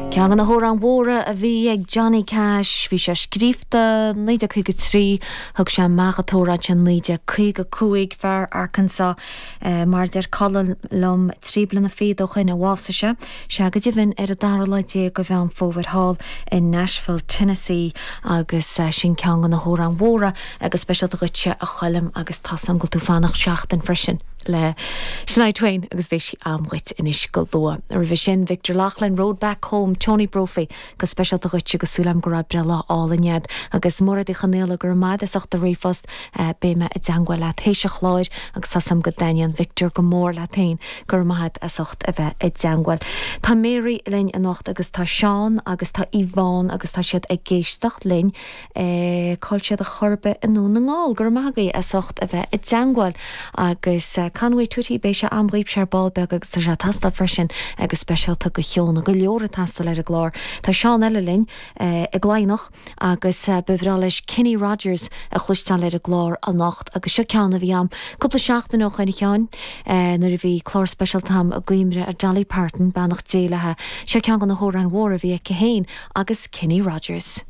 Ceann de na hamhráin mhóra a bhí ag Johnny Cash, bhí sé scríofa 1953, thug sé amach an t-amhrán sin 1955, fear Arkansas, mar a deir Colm liom, 3 bliana fichead ó shoin a bhásaigh sé, sea go deimhin ar an dara lá déag de Mheán Fómhair thall i Nashville, Tennessee agus sin ceann de na hamhráin mhóra go speisialta dhuitse a Choilm agus tá's a'm go bhfuil tú fanacht seachtain freisin. le Shania Twain agus beidh sí a'm dhuit anois go luath. Roimhe sin, Victor Loughlin, Road Back Home, Tony Brophy, go speisialta dhuit agus súil a'm go raibh breithlá álainn a'd. Agus Mairéad Uí Chonaola, go raibh maith a'd as ucht do ríomhphost, beidh mé i dteangmháil leat théis an chláir agus tá's a'm go dtaitníonn Victor go mór leat féin, go raibh maith a'd as ucht a bheith i dteangmháil. Tá Mary linn anocht agus tá Seán agus tá Yvonne agus tá siad ag éisteacht linn. Cá'il siad ar chor ar bith i nDún na nGall. Go raibh maith agaibh as ucht a bheith i dteangmháil. Agus Conway Twitty, beidh sé a'm dhaoibhse ar ball beag agus tá sé ag teastáil freisin go speisialta do Shióna. Go leor ag teastáil ar an gclár. Tá Seán eile linn i gCladhnach agus ba bhreá leis Kenny Rogers a chloisteáil ar an gclár anocht agus seo ceann a bhí a'm cúpla seachtain ó shoin a Sheáin nuair a bhí clár speisialta a'm i gcuimhne ar Dolly Parton, beannacht Dé léi. Seo ceann de na hamhráin mhóra a bhí aici féin agus Kenny Rogers.